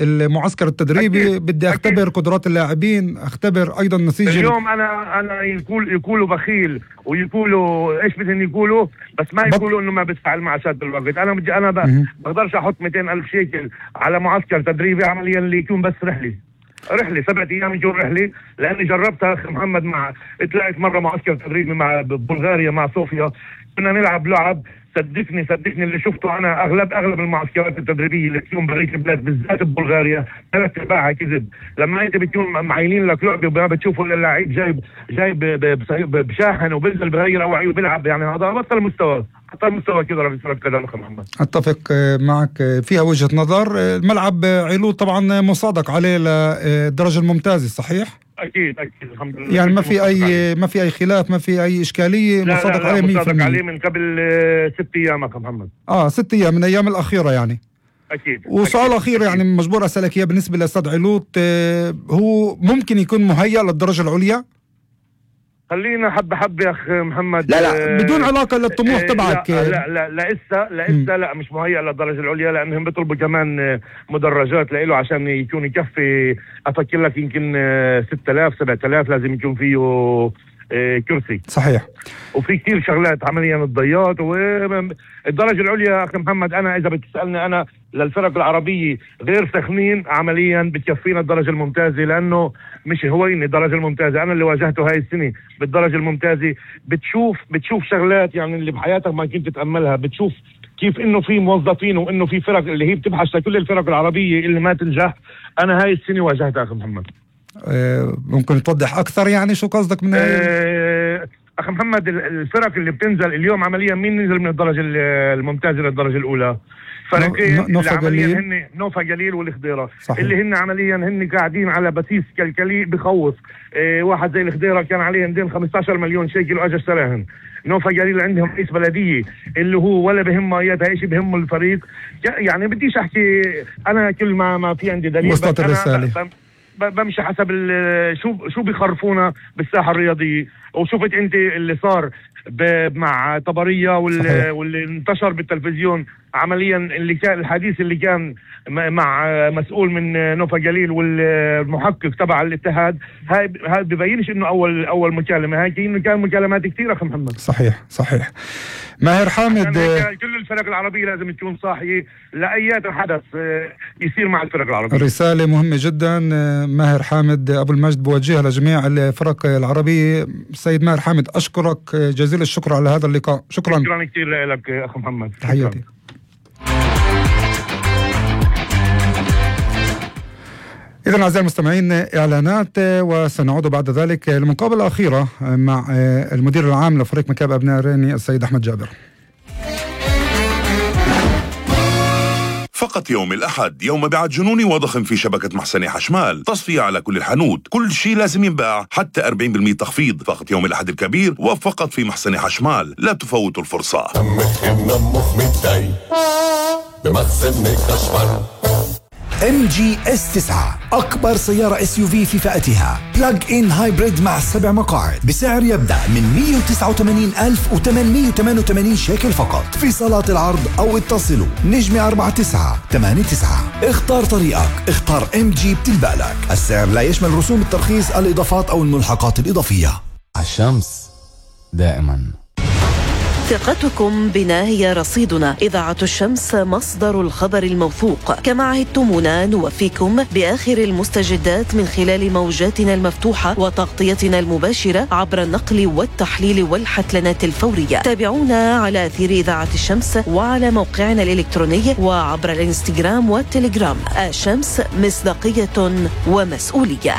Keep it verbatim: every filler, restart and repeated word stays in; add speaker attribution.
Speaker 1: المعسكر التدريبي أكيد. بدي اختبر أكيد. قدرات اللاعبين، اختبر ايضا نسيج
Speaker 2: اليوم انا انا يقول يقولوا بخيل ويقولوا ايش بدهم يقولوا، بس ما يقولوا انه ما بدفع المعاشات بالوقت. انا بدي انا بقدرش احط مئتين ألف شيكل على معسكر تدريبي عمليا اللي يكون بس رحلي رحلة سبعة أيام يجون رحلة، لأني جربتها أخي محمد مع طلعت مرة معسكر تدريبي مع بلغاريا مع صوفيا، كنا نلعب لعب صدقني صدقني اللي شفته أنا أغلب أغلب المعسكرات التدريبية اللي تكون بريك البلاد بالذات ببلغاريا ثلاث أرباعها كذب. لما أنت بتكون معينين لك لعبة وما بتشوفوا اللعيب جايب جايب بشاحن وبنزل بغير أوعي وبيلعب، يعني هذا بطل مستوى حتى المستوى كذا في كرة القدم أخي محمد.
Speaker 1: أتفق معك فيها وجهة نظر. الملعب علو طبعا مصادق عليه للدرجة الممتازة صحيح؟
Speaker 2: أكيد أكيد الحمد لله،
Speaker 1: يعني ما في أي ما في أي خلاف، ما في أي إشكالية.
Speaker 2: لا
Speaker 1: مصادق
Speaker 2: لا لا
Speaker 1: عليه مية
Speaker 2: مصادق عليه من قبل ست أيام أخي محمد.
Speaker 1: آه ست أيام من أيام الأخيرة يعني.
Speaker 2: أكيد.
Speaker 1: وسؤال أخير يعني مجبور أسألك إياه بالنسبة لأستاذ علوت، هو ممكن يكون مهيأ للدرجة العليا؟
Speaker 2: خلينا حبة حبة يا أخ محمد.
Speaker 1: لا لا بدون علاقة للطموح تبعك.
Speaker 2: لا لا لا لسه لسه لا مش مهيأ للدرجة العليا، لأنهم بيطلبوا كمان مدرجات لإله عشان يكون يكفي. أفكر لك يمكن ستة آلاف سبعة آلاف لازم يكون فيه كرسي.
Speaker 1: صحيح.
Speaker 2: وفي كتير شغلات عمليا الضيات. والدرجة العليا أخي محمد أنا إذا بتسألني أنا للفرق العربية غير سخنين عمليا بتكفينا الدرجة الممتازة، لأنه مش هوين الدرجة الممتازة. أنا اللي واجهته هاي السنة بالدرجة الممتازة بتشوف بتشوف شغلات يعني اللي بحياتك ما كنت تتأملها. بتشوف كيف إنه في موظفين وإنه في فرق اللي هي بتبحث لكل الفرق العربية اللي ما تنجح. أنا هاي السنة واجهتها أخي محمد.
Speaker 1: أه ممكن توضح أكثر يعني شو قصدك من
Speaker 2: أه أخي محمد الفرق اللي بتنزل اليوم عمليا مين نزل من الدرجة الممتازة للدرجة الأولى؟ فرقين
Speaker 1: نوفا قليل
Speaker 2: هن نوفا قليل والخضيرة اللي هن عمليا هن قاعدين على بسيس كالكلي بخوف. اه واحد زي الخضيرة كان عليه دين خمسة عشر مليون شيكل واجا اشتراهن. نوفا قليل عندهم رئيس بلدية اللي هو ولا بهم اياتها ايش بهم الفريق. يعني بديش احكي انا كل ما ما في عندي دليل،
Speaker 1: وصلت الرسالة.
Speaker 2: بمشي حسب شو شو بيخرفونا بالساحة الرياضية. وشفت انت اللي صار مع طبرية واللي, واللي انتشر بالتلفزيون عمليا اللي كان الحديث اللي كان مع مسؤول من نوفا قليل والمحقق تبع الاتحاد. هاي هاي ببينش انه اول اول مكالمه، هاي انه كان مكالمات كثيره اخي محمد.
Speaker 1: صحيح صحيح. ماهر حامد
Speaker 2: كل الفرق العربيه لازم تكون صاحيه لاي حدث يصير مع الفرق العربيه.
Speaker 1: رساله مهمه جدا. ماهر حامد ابو المجد بوجهها لجميع الفرق العربيه. سيد ماهر حامد اشكرك جزيل الشكر على هذا اللقاء. شكرا
Speaker 2: شكرا كثير لك اخ محمد.
Speaker 1: تحياتي. إذن أعزائي المستمعين إعلانات وسنعود بعد ذلك للمقابلة الأخيرة مع المدير العام لفريق مكاب أبناء ريني السيد أحمد جابر.
Speaker 3: فقط يوم الأحد يوم بيعة جنوني وضخم في شبكة محسنة حشمال، تصفية على كل الحانوت، كل شيء لازم ينباع حتى أربعين بالمئة تخفيض. فقط يوم الأحد الكبير وفقط في محسنة حشمال، لا تفوتوا الفرصة.
Speaker 4: ام جي اس تسعة أكبر سيارة اس يو في في فئتها، بلاج إن هايبريد مع سبع مقاعد بسعر يبدأ من مئة وتسعة وثمانين ألف وثمانمئة وثمانية وثمانين شيكل فقط في صالات العرض، أو اتصلوا نجمة أربعة تسعة ثمانية تسعة. اختار طريقك، اختار ام جي بتلبالك. السعر لا يشمل رسوم الترخيص، الإضافات أو الملحقات الإضافية.
Speaker 5: الشمس دائما.
Speaker 6: ثقتكم بنا هي رصيدنا. إذاعة الشمس مصدر الخبر الموثوق. كما عهدتمونا نوفيكم بآخر المستجدات من خلال موجاتنا المفتوحة وتغطيتنا المباشرة عبر النقل والتحليل والحتلنات الفورية. تابعونا على أثير إذاعة الشمس وعلى موقعنا الإلكتروني وعبر الانستغرام والتليجرام. الشمس مصداقية ومسؤولية.